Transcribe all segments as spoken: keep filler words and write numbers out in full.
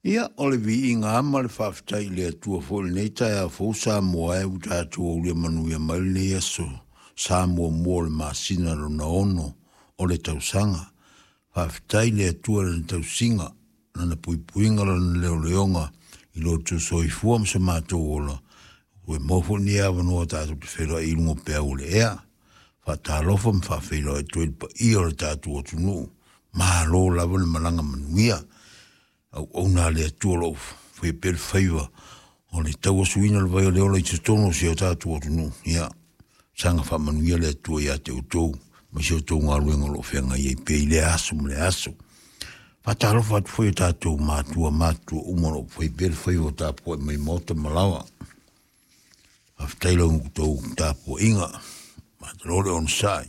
Ia, o le viiga ama le faafetai i le Atua foi i lenei taeao fou Samoa e ua tatou aulia manuia mai lenei aso sa muamua o le masina lona ono o le tausaga. Faafetai i le Atua i lana tausiga, lana puipuiga, lana leoleoga i lo outou soifua ma so matou ola, ua maua foi lenei avanoa tatou te feiloai i luga o peau o le ea. Faatalofa ma faafeiloai atu ai le paia o le tatou atunuu. Malo lava le malaga manuia. Auauna a le Atua o lo o faia pea le faiva o le tauasuina o le vai o le ola i totonu o si o tatou atunuu. Ia, saga faamanuia le Atua ia te outou ma si outou galuega o lo o feagai ai pea i lea aso ma lea aso. Faatalofa atu foi i o tatou matua matutua uma o lo o fai pea le faiva o tapuai mai maota ma laoa. Faafetai i la outou tapuaiga, malo le onosai.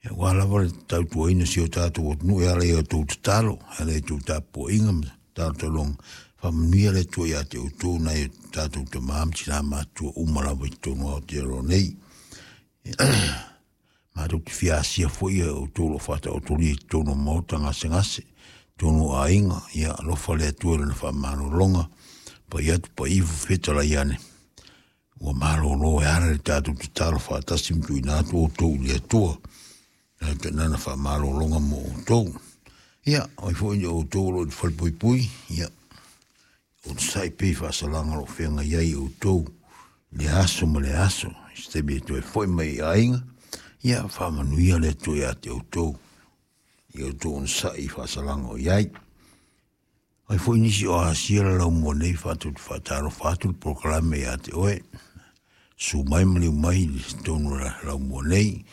Aua lava le tautuaina o si o tatou atunuu e ala i a outou tatalo, e ala i a outou tapuaiga ma talotaloga, faamanuia le Atua ia te outou nai o tatou tama ma tina matutua uma lava i totonu o Aotearoa nei. Matou te fia asia foi e outou o lo o faataotolia i totonu o maota gasegase, totonu o aiga, ia alofa le Atua i lana faamalologa, pai atu pai ifo fetalai ane, ua malolo e ala i le tatou tatalo faatasi ma tuuina atu outou i le Atua, lana faamalologa mo outou. Ia, o ai foi o outou o lo o i le falepuipui, ia, onosai pea i faasalaga o lo o feagai ai outou i le aso ma le aso, i se taimi e toe foi mai i aiga, ia, faamanuia le Atua ia te outou, i outou onosai i faasalaga o i ai. Ai foi nisi o asia la laumua nei fatou te faatalofa atu le polokalame ia te oe. Susu mai ma liu mai i totonu o la laumua nei,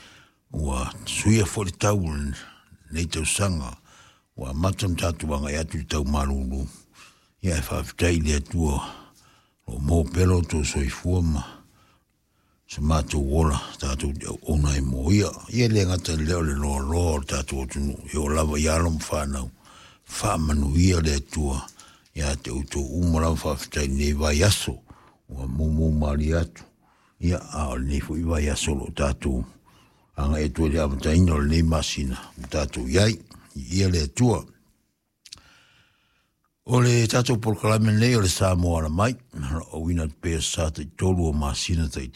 ua suia foi le tau o lenei tausaga, ua amata ona tatou agai atu i le tau malulu. Ia e faafetai i le Atua o lo o maua pea lo outou soifua ma so matou ola tatou te auauna ai mo ia. Ia e le gata i lea o le loaloa o le tatou atunuu, e oo lava i alo ma fanau, faamanuia le Atua ia te outou uma lava. Faafetai i lenei vaiaso ua mumu malie atu, ia, a o lenei foi vaiaso o lo o tatou agai atu ai i le amataina o lenei masina ua tatou i ai. Ia le Atua. O le tatou polokalame nei o le Samoa Ala Mai, o lo o auina atu pea sa taitolu o masina taitasi.